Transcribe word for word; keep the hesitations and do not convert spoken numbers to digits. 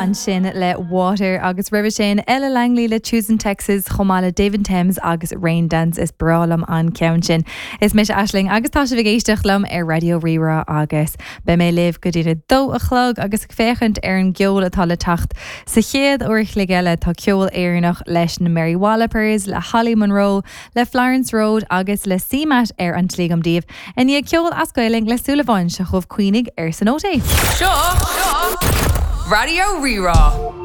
Ansin le Water agus roimhe sin Ella Langley le Choosing Texas chomh maith le David Thames agus Rain Dance is breá liom an ceann sin. Is mise Aisling agus tá sibh ag éisteacht liom ar Raidió Rí-Rá agus beidh mé libh go dtí a dó a chlog agus ag féachaint ar an gceol atá le teacht. Sa chéad uair a chloig eile tá ceol Éireannach leis na Mary Wallopers, le Holly Monroe, le Florence Road agus le CMAT ar an tslí agam daoibh. I ndiaidh ceol as Gaeilge le Súilleabháin seo chugaibh Caoinigh ar san Óté. Seo Raidió Rí-Rá.